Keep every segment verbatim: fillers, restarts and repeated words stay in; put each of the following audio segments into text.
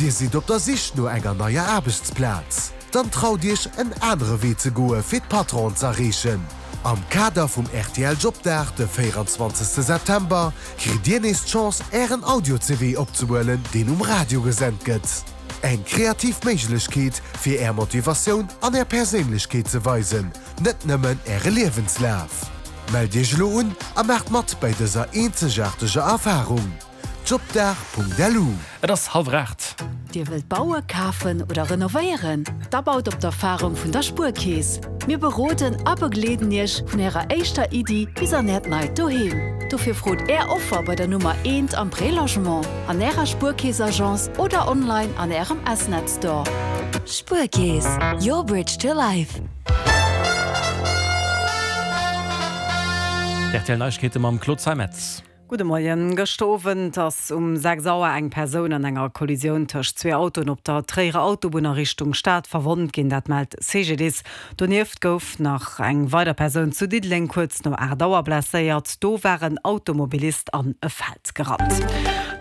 Dir sidd op der Sich no enger neier Aarbechtsplaz? Dann traut Iech en anere Wee ze goe fir d'Patronen z'erreechen. Am Kader vum rtl Jobdag de véieranzwanzegste September kritt Dir nees d'Chance Ären Audio-CV opzehuelen, deen um Radio gesent gëtt. Eng kreativ Méiglechkeet fir Är Motivatioun an Är Perséinlechkeet ze weisen, net nëmmen Äre Liewenslaf. Mellt Iech elo un a maacht mat bei dëser eenzegaarteger Erfarung! Jobdag.lu. Et ass hallwer aacht. Dir wëllt bauen, kafen oder renovéieren? Da baut op d'Erfarung vun der Spuerkeess. Mir beroden a begleeden Iech vun Ärer éischter Iddi bis an Äert neit Doheem. Dofir frot Är Offer bei der Nummer eent am Prélogement, an Ärer Spuerkeess-Agence oder online an Ärem S-Net Store. Spuerkeess, your bridge to life. D'RTL Neiegkeete mam Claude Zeimetz. Gudde Moien. Gëschter Owend ass um sechs Auer eng Persoun an enger Kollisioun tëscht zwee Autoen op der Tréierer Autobunn a Richtung Stad verwonnt ginn, dat mellt C G D I S. Donieft gouf nach eng weider Persoun zu Diddeleng kuerz no aacht Auer blesséiert. Do war en Automobilist an e Feld gerannt.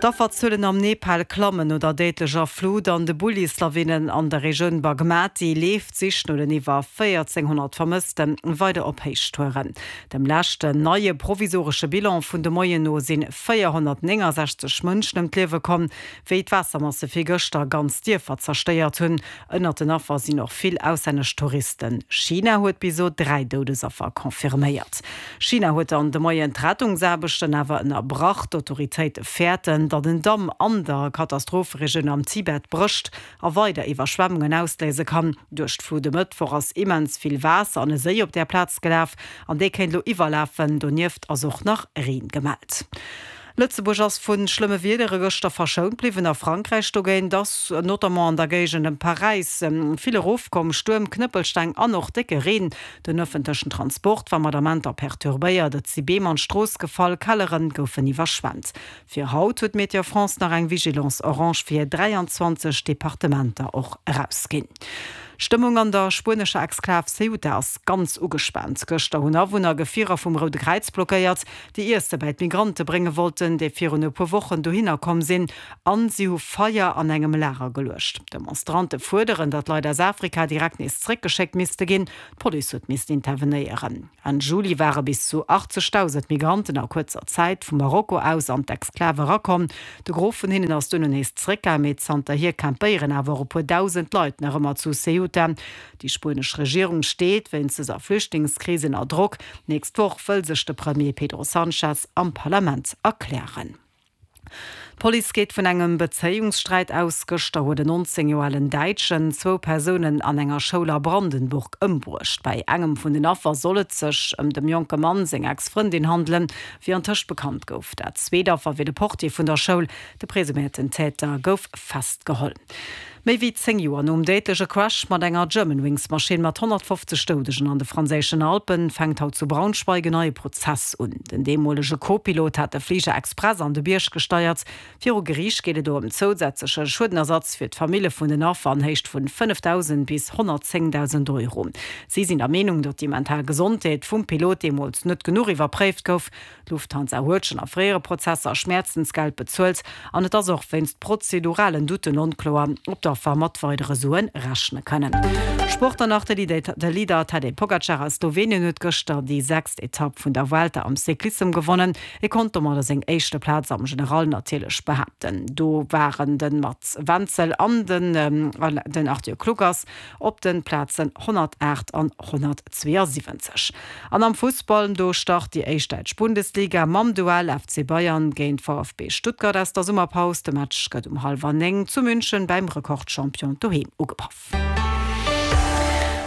D'Afferzuelen am Nepal klammen no der déidlecher Flut an de Bullislawinen an der Regioun Bagmati leeft d'Sich no den iwwer véierzénghonnert Vermësste weider op Héichtouren. Dem leschten neie provisoresche Bilan vun de Moien no si véierhonnertnéngensechzeg Mënschen ëm d'Liewe komm, wéi d'Waassermasse virgëschter ganz Dierfer zerstéiert hunn. Ënnert den Affer sinn och vill auslännesch Touristen. China huet bis elo dräi Doudesaffer confirméiert. China huet dann de Moien d'Rettungsaarbechten awer ënnerbrach. D'Autoritéite fäerten, datt en Damm an der Katastropheregioun am Tibet brécht a weider Iwwerschwemmungen ausléise kann. Duerch d'Flut e Mëttwoch ass immens vill Waasser an e Séi op där Plaz gelaf an dee kéint elo iwwerlafen. Donieft ass och nach Reen gemellt. Lëtzebuerg ass vu schlëmme Wiedere gëschter verschount bliwwen. A Frankräich dogéint ass notamment an der Géigend ëm Paräis vill erofkomm, Stuerm, Knëppelsteng an och décke Reen. Den ëffentlechen Transport war mat Amenter perturbéiert, et si Beem an d'Strooss gefall, Kellere goufen iwwerschwemmt. Fir haut huet Météo France nach eng Vigilance orange fir dräianzwanzeg Departementer och erausginn. D'Stëmmung an der spuenescher Exklav Ceuta ass ganz ugespaant. Gëschter hunn Awunner Gefierer vum Roude Kräiz blockéiert, déi Iesse bei d'Migrante brénge wollten, déi virun e puer Wochen dohinner komm sinn, an si hu Feier an engem Lager geluecht. D'Demonstrante fuerderen, datt Leit aus Afrika direkt nees zeréckgeschéckt misste ginn. D'Police huet missten intervenéieren. Enn Juli ware bis zu achtzegdausend Migranten a kuerzer Zäit vu Marokko aus an d'Exklav erakomm. De Gros vun hinnen ass duerno nees zeréckgaangen, mee zanterhier campéieren awer och e puer dausend Leit nach ëmmer zu Ceuta. Déi spuenesch Regierung steet wéinst dëser Flüchtlingskris ënner Drock. D'nächst Woch wëll sech de Premier Pedro Sanchez am Parlament erklären. D'Police geet vun engem Bezéiungssträit aus. Gëschter huet en nonzéng Joer alen Däitschen zwou Persounen an enger Schoul a Brandenburg ëmbruecht. Bei engem vun den Affer soll et sech ëm dem jonke Mann seng Ex-Frëndin handelen, wéi antëscht bekannt gouf. Dat zweet Affer wier de Portier vun der Schoul. De presuméierten Täter gouf festgeholl. Méi wéi zéng Joer nom déidleche Crash mat enger Germanwings-Maschinn mat honnertfofzeg Doudegen an de franséischen Alpen fänkt haut zu Braunschweig en neie Prozess un. Den deemolege Co-Pilot hat de Fliger express an de Bierg gesteiert. Viru Geriicht geet et do ëm zousätzleche Schuedenersatz fir d'Famille vun den Affer an Héicht vun fënnefdausend bis honnertzéngdausend Euro. Si sinn der Meenung, datt déi mental Gesondheet vum Pilot deemools net genuch iwwerpréift gouf. D'Lufthansa huet schonn a fréiere Prozesser Schmäerzensgeld bezuelt an et ass och wéinst prozeduralen Doutten onkloer, ob d'Affer mat weidere Sue rechne kënnen. Sport dann nach, De Leader Tadej Pogacar aus Slowenien huet gëschter déi sechst Etapp vun der Vuelta am Cyclissem gewonnen. Hie konnt domadder seng éischte Plaz am General natierlech behaapten. Do waren de Mats Wenzel an den Arthur Kluckers op de Plazen honnertaacht an honnertzweeënsiwwenzeg. An am Fussball, do start déi éischt däitsch Bundesliga mam Duell F C Bayern géint V F B Stuttgart aus der Summerpaus. De Match gëtt um hallwer néng zu München beim Rekordchampion doheem ugepaff.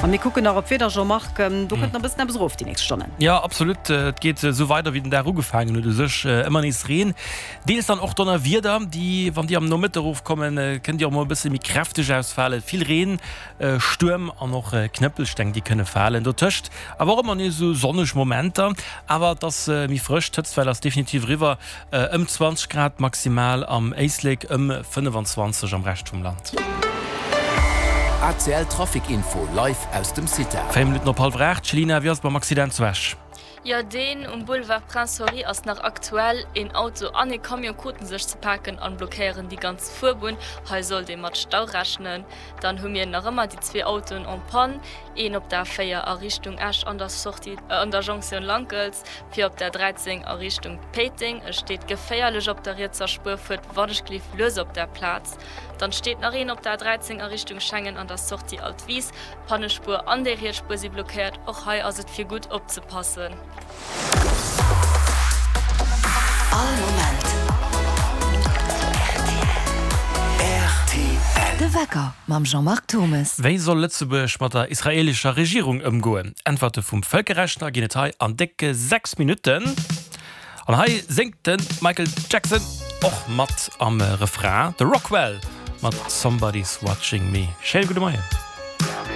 A mir kucken nach op d'Wieder, Jean-Marc, do kënnt nach e bëssen eppes erof déi nächst Stonnen. Jo, absolut. Et geet esou weider wéi den Dag ugefaangen huet u sech. Ëmmer nees Reen, deels dann och Donnerwieder, déi, wann déi am Nomëtte erofkommen, kënnen déi och mol e bësse méi kräfteg ausfalen. Vill Reen, Stuerm an och Knëppelsteng, déi kënne falen. Dotëscht awer och ëmmer nees esou sonneg Momenter. Awer et ass méi frësch, d'Hëtztwell ass definitiv eriwwer, ëm zwanzeg Grad maximal am Éislek, ëm fënnefenzwanzeg am Rescht vum Land. A C L Trafic Info live aus dem Cita. Véier Minutten op hallwer aacht. Céline, wéi ass et mam Accident zu Esch? Jo, deen um Boulevard Prince Henri ass nach aktuell. Een Auto an ee Camion kruten sech ze paken an blockéieren déi ganz Fuerbunn. Hei sollt ee mat Stau rechnen. Dann hu mir nach ëmmer déi zwee Autoen en panne, een op der A véier a Richtung Esch an der Sortie an der Jonktioun Lankels, fir op der dräizéng a Richtung Péiteng. E steet geféierlech op der rietser Spuer, fuert wannechgelift lues op der Plaz. Dann steet nach een op der A dräizéng a Richtung Schengen an der Sortie Altwis. D'Pannespuer an déi riets Spuer si blockéiert. Och hei ass et fir gutt opzepassen. All Moment rtl. De Wecker mam Jean-Marc Thommes. Wéi soll Lëtzebuerg mat der israeelescher Regierung ëmgoen? Äntwerte vum Vëlkerrechtler ginn et hei an décke sechs Minutten. An hei séngt de Michael Jackson och mat am Refrain, de Rockwell mat Somebody's Watching Me. Schéine gudde Moien.